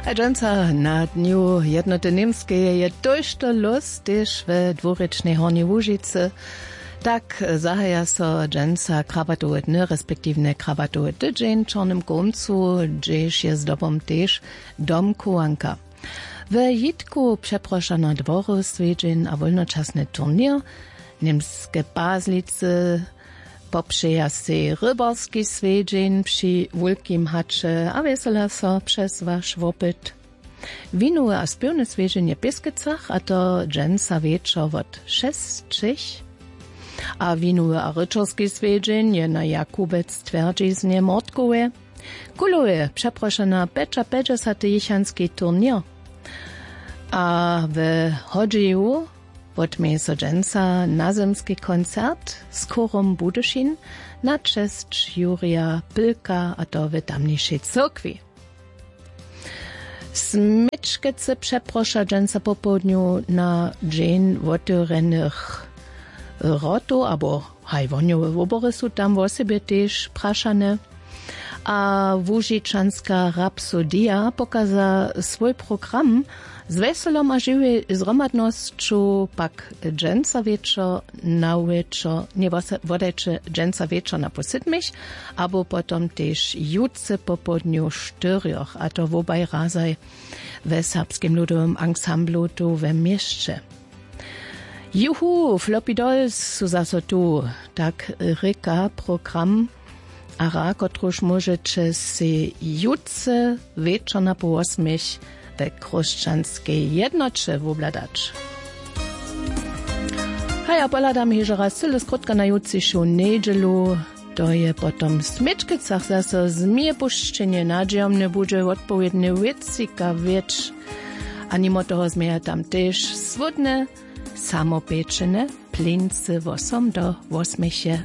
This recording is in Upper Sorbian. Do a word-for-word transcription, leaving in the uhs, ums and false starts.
A dźensa na dnju jednoty němskeje je tójšto lós tež we dwurěčnej hornjej łužicy. Tak zahaja so dźensa krabatowe dny respektiwnje krabatowy tydźeń w čornym kómcu, hdźež je zdobom tež domchowanka. We jitku přeprošana dwory swjedźeń a wólnočasny turněr, němske pazlicy popřeja sej rybarski swjedźeń při wulkim haće a wjesela so přez waš wopyt. Winowy a spěwny swjedźeń je w pěskecach, a to dźensa wječor wot šesćich. A winowy a ryćerski swjedźeń je na jakubec twjerdźiznje mortkowe. Kulowy přeprošena pjećapjećdźesaty jěchanski turněr. A we hodźeju wotměje so dźensa nazymski koncert z chórom budyšin na česć jurija pylka, a to w tamnišej cyrkwi. Směčkecy přeproša dźensa popołdnju na dźeń wotewrjenych wrotow abo haj wohnjowe wobory su tam wosebje tež prašane. A łužičanska rapsodija pokaza swój program z wjeselom a žiwej zhromadnosću pak dźensa wječor na wječor nje wodajće dźensa wječor na pół sydmich abo potom tež jutře popołdnju štyrjoch, a to wobaj razaj we serbskim ludowym ansamblu tu we měsće. Juhu, floppy dolls su zaso tu, tak rěka program, a hra kotruž móžeće sej jutře wječor na pół wosmich we chróšćanskej jednoće wobhladać. Haj, a pohladam hižo raz cyle skrótka na jutřišu njedźelu. To je potom w směčkecach zaso změjepušćenje nadźijomne budźe wotpowědne wěcika wjeć. A nimo toho změja tam tež słódne samopječene plincy wosom do wosmeche.